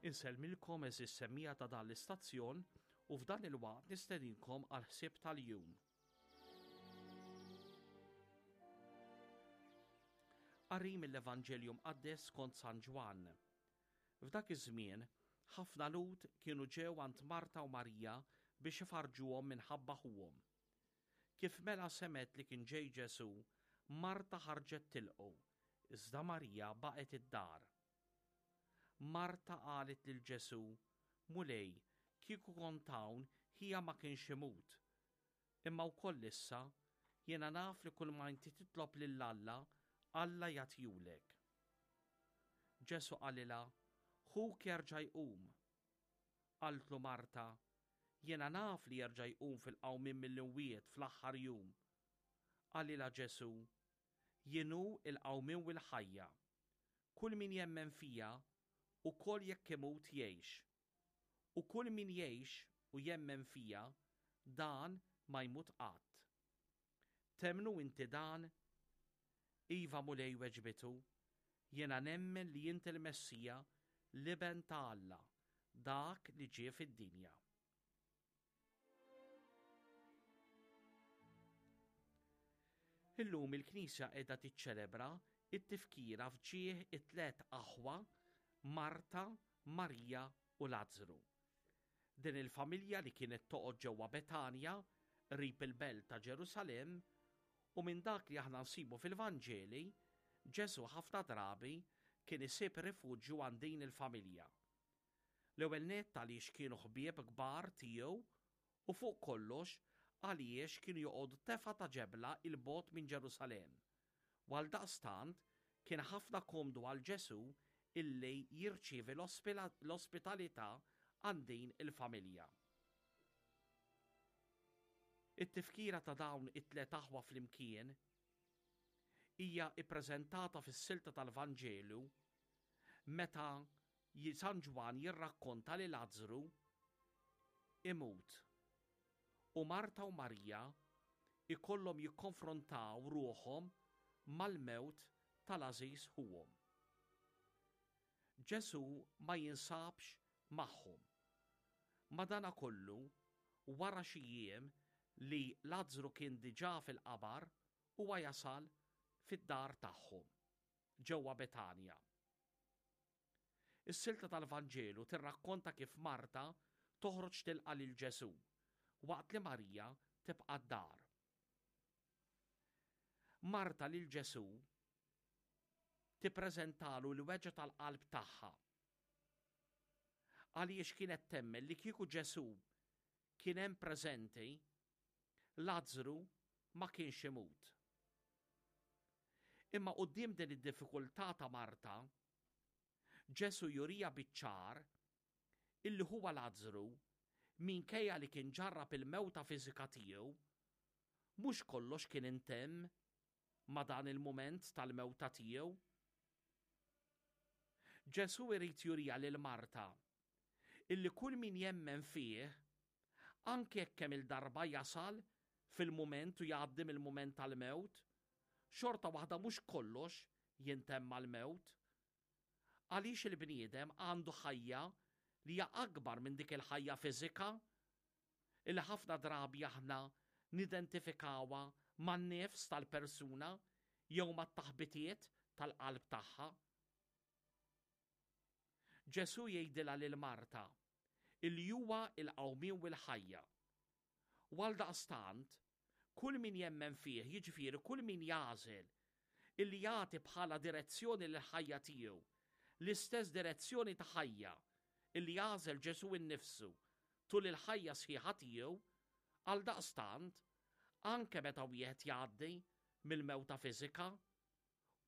Insellmilkom għeżież semmiegħa ta' dan l-istazzjon u f'dan il-waqt nistedinkom għall-ħsieb tal-jum. Qari mill-Evanġelju Mqaddes skont San Ġwann. F'dak iż-żmien, ħafna Lhud kienu ġew għand Marta u Marija biex ifarrġuhom minħabba ħuhom. Kif mela semgħet li kien ġej Ġesù, Marta ħarġet tilqgħu, iżda Marija baqgħet id-dar. Marta qalet lil Ġesù, Mulej, kieku kont hawn, ħija ma kienx imut. Imma wkoll issa, jiena naf li kulma inti titlob lil Alla, Alla jagħtihulek. Ġesù qalilha, Ħuk jerġa' jqum. Qaltlu Marta, Jiena naf li jerġa' jqum fil-qawmien mill-imwiet fl-aħħar jum. Qalilha Ġesù, Jien hu l-qawmien u l-ħajja. Kull min jemmen fija, ukoll jekk imut jgħix. U kull min jgħix u jemmen fija, dan ma jmut qatt. Temmnu inti dan? Iva, Mulej, weġbitu, jiena nemmen li int il-Messija, l-Iben ta' Alla, dak li ġie fid-dinja. Illum il-Knisja qiegħda tiċċelebra t-tifkira f'ġieħ it-tlet aħwa Marta, Marija u Lazzru. Din il-familja li kienet toqgħod ġewwa Betanja, qrib il-belt ta' Ġerusalemm, u minn dak li aħna nsibu fil-Vanġeli, Ġesù ħafna drabi kien isib rifuġju għand din il-familja. L-ewwel nett għaliex kienu ħbieb kbar tiegħu u fuq kollox għaliex kienu joqogħdu tefgħa ta' ġebla 'l bogħod minn Ġerusalemm. U għaldaqstant kien ħafna komdu għal Ġesù illi jirċievi l-ospitalità għand din il-familja. It-tifkira ta' dawn it-tliet aħwa flimkien hija ppreżentata fis-silta tal-Vanġelu meta San Ġwann jirrakkonta li Lazzru imut u Marta u Marija jkollhom jikkonfrontaw ruħhom mal-mewt tal-għażiż ħuhom. Ġesù ma jinsabx magħhom. Madanakollu, wara xi jiem li Lazzru kien diġà fil-qabar, huwa jasal fid-dar tagħhom, ġewwa Betanja. Is-silta tal-Vanġelu tirrakkonta kif Marta toħroġ tilqa' lil Ġesù, waqt li Marija tibqa' d-dar. Marta lil Ġesù tippreżentalu l-weġgħa tal-qalb tagħha. Għaliex kienet temmen li kieku Ġesù kien hemm preżenti, Lazzru ma kienx imut. Imma quddiem din id-diffikultà ta' Marta, Ġesù juriha biċ-ċar illi huwa Lazzru, minkejja li kien ġarrab il-mewta fiżika tiegħu, mhux kollox kien intemm ma' dan il-mument tal-mewta tiegħu. Ġesù irid juriha lil Marta illi kull min jemmen fih, anke jekk kemm-il darba jasal fil-mument u jgħaddi mill-mument tal-mewt, xorta waħda mhux kollox jintemm mal-mewt. Għaliex il-bniedem għandu ħajja li hija akbar minn dik il-ħajja fiżika illi ħafna drabi aħna nidentifikawha man-nifs tal-persuna jew mat-taħbitiet tal-qalb tagħha. Ġesù jgħidilha lil Marta illi huwa l-qawmien u l-ħajja. U għaldaqstant, kull min jemmen fih, jiġifieri kull min jagħżel illi jagħti bħala direzzjoni lill-ħajja tiegħu l-istess direzzjoni ta' ħajja illi għażel Ġesù innifsu tul il-ħajja sħiħa tiegħu, għaldaqstant, anke meta wieħed jgħaddi mill-mewta fiżika,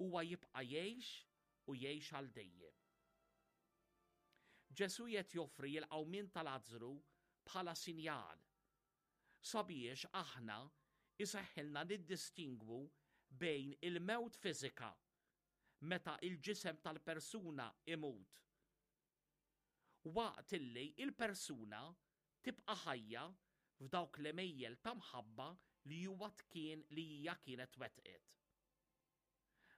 Huwa jibqa' jgħix u jgħix għal dejjem. Ġesù qed joffri l-qawmien ta' Lazzru bħala sinjal sabiex aħna jseħħilna niddistingwu bejn il-mewt fiżika, meta l-ġisem tal-persuna imut, waqt illi l-persuna tibqa' ħajja f'dawk l-għemejjel ta' mħabba li huwa kien li hija kienet wettqet.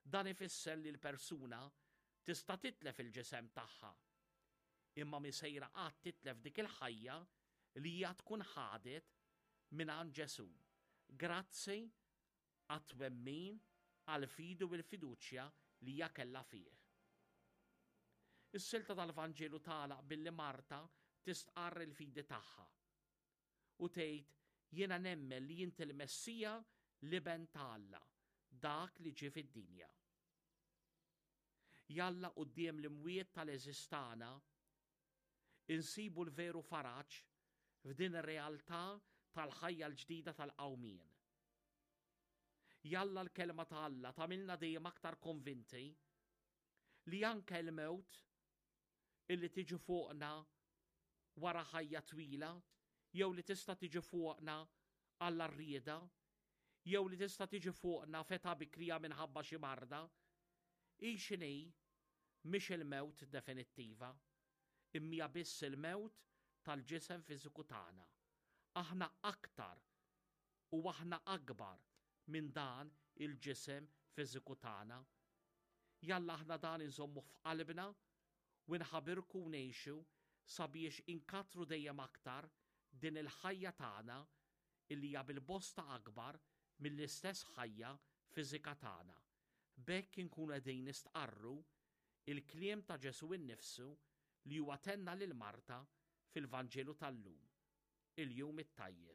Dan ifisser li l-persuna tista' titlef il-ġisem tagħha. Imma mhi sejra qatt titlef dik il-ħajja li hija tkun ħadet mingħand Ġesù, grazzi għat-twemmin, għall-fidi u l-fiduċja li hija kellha fih. Is-silta tal-Vanġelu tagħlaq billi Marta tistqarr il-fidi tagħha u tgħid jiena nemmen li inti l-Messija l-Iben ta' Alla, dak li ġie fid-dinja. Jalla quddiem l-imwiet tal-għeżież tagħna insibu l-veru faraġ f'din ir-realtà tal-ħajja l-ġdida tal-qawmien. Jalla l-kelma ta' Alla tagħmilna dejjem aktar konvinti li anke l-mewt illi tiġi fuqna wara ħajja twila jew li tista' tiġi fuqna għall-arrieda jew li tista' tiġi fuqna f'età bikrija minħabba xi marda, hi x'inhi, mhix il-mewt definittiva, imma hija biss il-mewt tal-ġisem fiżiku tagħna. Aħna aktar u aħna akbar minn dan il-ġisem fiżiku tagħna. Jalla aħna dan inżommuh f'qalbna u nħabirku u ngħixu sabiex inkattru dejjem aktar din il-ħajja tagħna illi hija bil-bosta akbar mill-istess ħajja fiżika tagħna. B'hekk inkunu qegħdin nistqarru il-kliem ta' Ġesù innifsu li huwa tenna lil Marta fil-Vanġelu tal-lum. Il-jum it-tajjeb.